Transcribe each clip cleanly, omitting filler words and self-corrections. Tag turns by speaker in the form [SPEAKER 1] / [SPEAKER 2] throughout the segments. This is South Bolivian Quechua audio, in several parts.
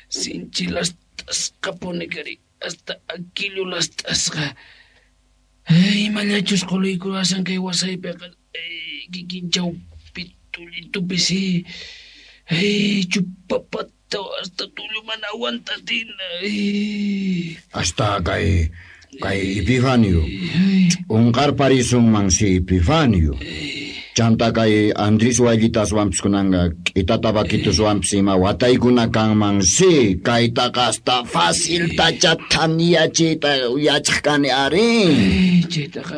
[SPEAKER 1] Sinchi lastasqapuni kari, hasta aquillo lastasqa. Imallachus quluykuwasan kay wasaypiqa, kikin chawpi tullitupi si. Chupapata hasta tullu mana aguantatina.
[SPEAKER 2] Hasta kay Epifanio. Unqarparisunman si Epifanio. Chanta kay Andrés Wayllitaswanpis kunanqa k'itata vaquituswanpis ima wataykuna kanman si kaytaqa hasta faciltacha thaniyachiyta yachaq kani ari.
[SPEAKER 1] Chaytaqa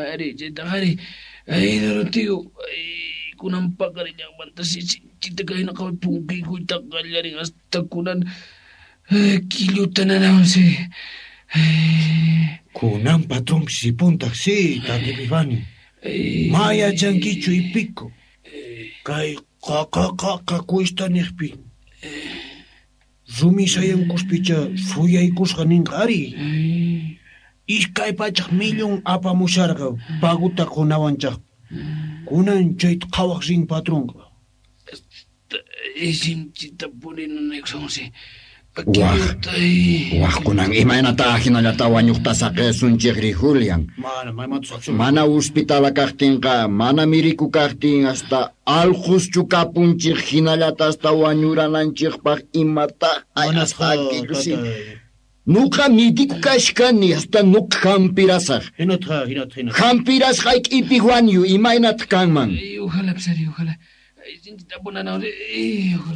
[SPEAKER 1] ari. Ay, Doroteo, kunan paqarillanmanta si sinchita kayna qhawa punkiykuyta qallarin hasta kunan killuta nanawan si.
[SPEAKER 3] Kunan patronpis ripuntaq si, tata Epifanio. Ma yachankichu ipico. Kay qaqa cuesta niqpi. Rumi sayankuspicha suyaykusqa ninqa ari. 200 millón apamusharqa paguta qunawanchaq. Kunan chayta qhawaq rin patronqa.
[SPEAKER 1] Sinchitapuni nanaykusansi.
[SPEAKER 2] Waj kunan imaynata hinallata wañuqta saqesunchikri Julian. Mana hospitala kaqtinqa, mana miriku kaqtin hasta alquschu kapunchik hinallata hasta wañurananchikpaq imata si. Nuqa midiku kashkani hasta nuqa hampirasaq.
[SPEAKER 3] Hinatqa.
[SPEAKER 2] Hampirasqayki Epifanio imaynataq kanman.
[SPEAKER 1] Ojalá, psari, ojalá. Sinchita punanaw.